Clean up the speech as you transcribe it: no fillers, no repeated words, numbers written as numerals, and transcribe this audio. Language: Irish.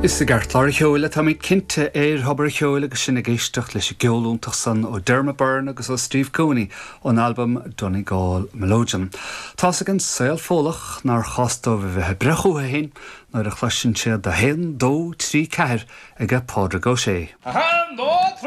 Is i gceartlár an cheoil atáimid cinnte ar Thobar an Cheoil agus sinn ag éisteacht leis an gceol iontach san ó Dermot Byrne agus ó Steve Cooney ón albam Donegal Melodeon. Tá's ag an saol Fódhlach nár chás dóibh a bheith ag breith chucu féin nuair a chloiseann siad 1, 2, 3, 4 aige Pádraig Ó Sé. 1, 2, 3.